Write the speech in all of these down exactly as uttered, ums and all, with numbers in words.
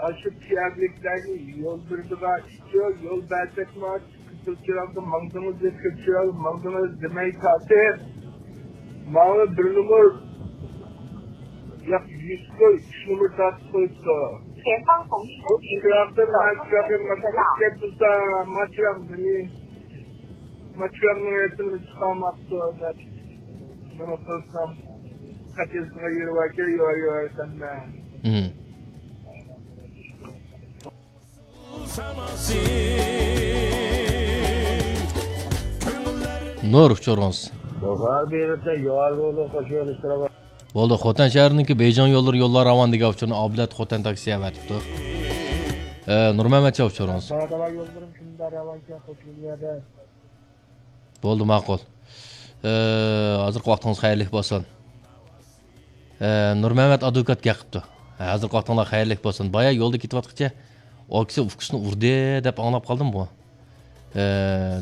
ئاشۇ پىيادىلىكلەرگە يول بېرىدىغان ئىش يوق، يول بەرسەكمۇ، كۆپ چىراغدا ماڭدىڭىز دەپ، كۆپ چىراغدا ماڭدىڭىز دېمەي تارتىپ، ماڭا بىر نومۇر، ياق، يۈز قوي، ئۈچ نومۇر تارتىپ قويۇپتۇ. ئۇ چىراغدا ما چىراغ يانماپتۇ، كەتمىسا، ما چىراغ نېمە؟ ما چىراغنىڭ رەسىمىنى چىقارماپتۇ دەپ. نېمە قىلسام، خەت يازىدىغان يېرى باركەن، يوار، يوار دېسەم مەن. مم. نۇر ئۇچۇرىڭىز. بۇخار بېرىپتە يوار بولۇپ قوشۇۋېلىشتۇرۇپ. بولدى، خوتەن شەھىرىنىڭكى بېيجىڭ يوللىرى يوللار راۋان دېگەن ئۇچۇرنى ئابلەت خوتەن تاكسى ئەۋەتىپتۇ. ئە، نۇرمەمەتجان ئۇچۇرىڭىز. ساغدىلا يوللىرىم كۈندە راۋانكەن، خوش يەردە. بولدى، ماقۇل. ئە، ھازىرقى ۋاقتىڭىز خەيرلىك بولسۇن. ئە، نۇرمەمەت ئادۋوكات گەپ قىپتۇ. ھە، ھازىرقى ۋاقتىڭلار خەيرلىك بولسۇن. بايا يولدا كېتىۋاتقىچە ئاكىسى ئۇكىسىنى ئۇردى دەپ ئاڭلاپ قالدىمغۇ. ئە،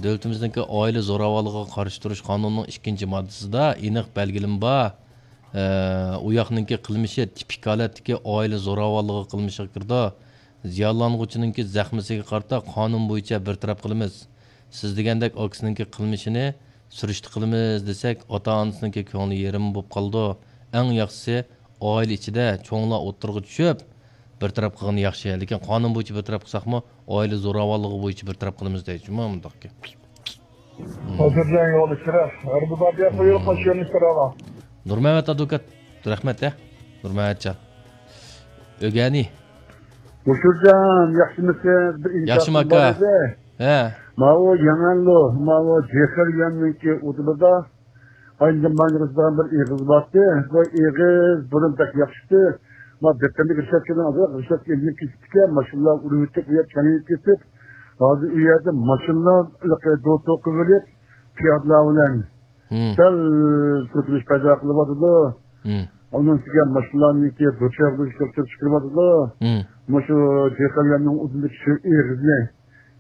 دۆلىتىمىزنىڭكى ئائىلە زوراۋانلىقىغا قارشى تۇرۇش قانۇنىنىڭ ئىككىنچى ماددىسىدا ئېنىق بەلگىلىمە بار. ئە، ئۇ ياقنىڭكى قىلمىشى تىپىك ھالەتتىكى ئائىلە زوراۋانلىقى قىلمىشىغا كىرىدۇ. زىيانلانغۇچىنىڭكى زەخمىسىگە قارىتا قانۇن بويىچە بىر تەرەپ قىلىمىز. سىز دېگەندەك ئاكىسىنىڭكى قىلمىشىنى سۈرۈشتە قىلىمىز دېسەك، ئاتا-ئانىسىنىڭكى كۆڭلى يېرىم بولۇپ قالىدۇ. ئەڭ ياخشىسى، ئائىلە ئىچىدە چوڭلار ئوتتۇرىغا چۈشۈپ، بىر تەرەپ قىلغىنى ياخشى. لېكىن قانۇن بويىچە بىر تەرەپ قىلساقمۇ، ئائىلە زوراۋانلىقى بويىچە بىر تەرەپ قىلىمىز دەيدۇ جۇمۇ مۇنداقكەن. ھازىرجان يولى چىراغ. ھەربىي بار دېگەن قويۇپ قوشۇۋېلىشتۇرۇڭ. نۇرمەمەت ئادۋوكات، رەھمەت ھە. نۇرمەمەتجان. ئۆگەنى. مۇشۇرجان، ياخشىمۇسىز؟ بىر ياخشىمۇ ئىنكاسىم ئاكا. بار ئىدى. ھە. ماۋۇ يېڭەللو، ماۋۇ جېخىرياننىڭكى ئۇدۇلىدا ئاينىڭ ماڭغىزىدىغان بىر ئېغىز بارتى. بۇ ئېغىز بۇرۇن بەك ياخشىتى. ما دەپتەرنى رىشۋەتكىنىڭ ئالدىدا رىشۋەتكە ئېلىنىپ كېتىپتىكەن. ماشىنىلار ئۇرۇۋېتىپ، ئۇ يەر كەڭىيىپ كېتىپ، ھازىر ئۇ يەردە ماشىنىلار ھېلىقى دوتۇ قىلىۋېلىپ، پىيادىلەر بىلەن مم. سەل تۈركىلىش پەيدا قىلىۋاتىدۇ. مم. ئۇنىڭ ئۈستىگە ماشىنىلارنىڭكى دۇچار بولۇش كۆپتۈرۈپ چىقىرىۋاتىدۇ. مم. مۇشۇ جېخەللەرنىڭ ئۇدۇلىدىكى شۇ ئېغىزنى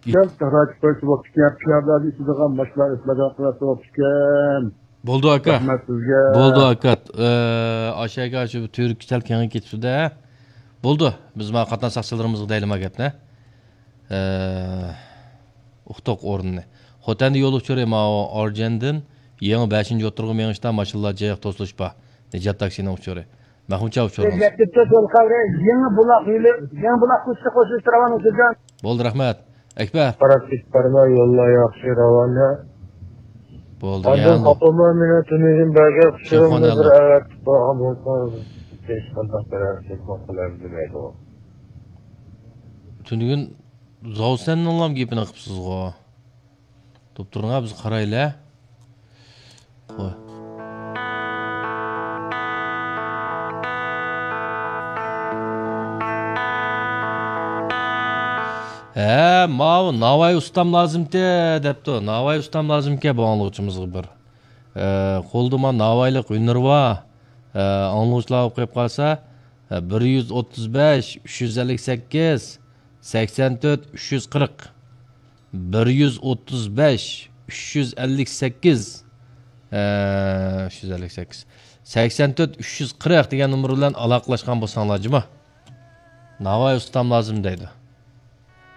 ئىت- سەل تارايتىپ قويسا بوپتىكەن، پىيادىلەرنى ئىچىدىغان ماشىنىلار ئۆتمەيدىغان قىلىۋەتسە بوپتىكەن. بولدى ئاكا. رەھمەت سىزگە. بولدى ئاكا. ئە، ئاشۇ يەرگە شۇ تۈرك سەل كېڭىيىپ كېتىپتۇ-دە. بولدى. بىز مانا قاتناش ساقچىلىرىمىزغا دەيلى ما گەپنى. ئە، ئۇقتۇق ئورنىنى. خوتەندە يول ئۇچۇرى ماۋۇ ئارجەندىن يېڭى بەشىنچى ئوتتۇرىغا مېڭىشتا ماشىنىلار جىق توسۇلۇش بار. نىجات تاكسىنىڭ ئۇچۇرى. مەخمۇتجان ئۇچۇرىڭىز. يەتتە تۆت يول قەۋرە، يېڭى بۇلاق يولى، يېڭى بۇلاق كوچىسى قوشۇلۇش راۋان ئۇچۇرجان. بولدى، رەھمەت. ئەكبەر. قاراپ كېتىپ بارما، يوللار ياخشى، راۋانە. بولدى، ئاندىن يەنە. قاپىلما مېنىڭ تۈنۈگۈن بەرگەن ئۇچۇرۇمنى بىر ئەۋەتىپ بارغان بولسىڭىز، ھېچقانداق بىر ھەرىكەت قىلىپ بولمايدۇ. تۈنۈگۈن زاۋسەننىڭلام گېپىنى قىپسىزغۇ. توپ تۇرۇڭا، بىز قارايلى. قوي. ھە، ماۋۇ ناۋاي ئۇستام لازىمتى دەپتۇ. ناۋاي ئۇستام لازىمكەن بۇ ئاڭلىغۇچىمىزغا بىر. ئە، قولدا ما ناۋايلىق ھۈنىرى بار. ئە، ئاڭلىغۇچىلار بولۇپ قېلىپ قالسا، ئە، بىر يۈز ئوتتۇز بەش، ئۈچ يۈز ئەللىك سەككىز، سەكسەن تۆت، ئۈچ يۈز قىرىق. بىر يۈز ئوتتۇز بەش، ئۈچ يۈز ئەللىك سەككىز، ئە، ئۈچ يۈز ئەللىك سەككىز، سەكسەن تۆت، ئۈچ يۈز قىرىق دېگەن نومۇر بىلەن ئالاقىلەشكەن بولساڭلار جۇمۇ. ناۋاي ئۇستام لازىم دەيدۇ.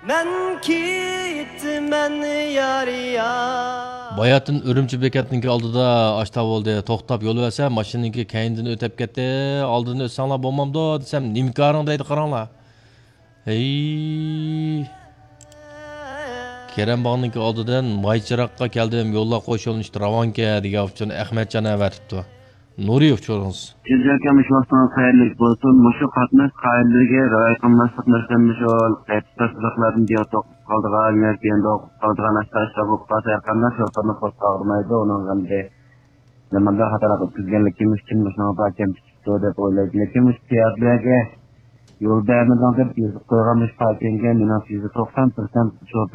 مەن كېتىمەن يار يار. باياتىن ئۈرۈمچى بېكەتنىڭكى ئالدىدا ئاشتا بولدى. توختاپ يول بەرسەم، ماشىنىنىڭكى كەينىدىن ئۆتۈپ كەتتى. ئالدىدىن ئۆتسەڭلار بولمامدۇ دېسەم، نېمە كارىڭ دەيدۇ، قاراڭلار. ھەي. كېرەم باغنىڭكى ئالدىدىن ماي چىراغقا كەلدىم، يوللار قوشۇلۇشتا راۋانكەن دېگەن ئۇچۇرنى ئەخمەتجان ئەۋەتىپتۇ. نۇرى ئۇچۇرىڭىز. جىنجاكەم، مۇشۇ ۋاقتىڭىز خەيرلىك بولسۇن. مۇشۇ قاتناش قائىدىلىرىگە رىئايە قىلماسلىق مەسىلەن مۇشۇ قېتىپ تەپسىلاتلاردىن دىيالوگ قىلىدىغان ياكى ئەمدى قىلىدىغان ئاشتا بولۇپ قالسا ھەرقانداق شوپۇرنى قورسىقى ئاغرىمايدۇ. ئۇنىڭغا ئەمدى نېمانداق خاتالىق ئۆتكۈزگەنلىكىم ئۈچۈن مۇشۇنىڭغا كەمچىلىك چىقىپتۇ دەپ ئويلايدۇ. لېكىن مۇشۇ پىيادىلەرگە يول بەرمىدىڭ دەپ يېزىپ قويغان مۇشۇ پاكىڭگە مېنىڭچە يۈزدە توقسان پىرسەنت شوپۇر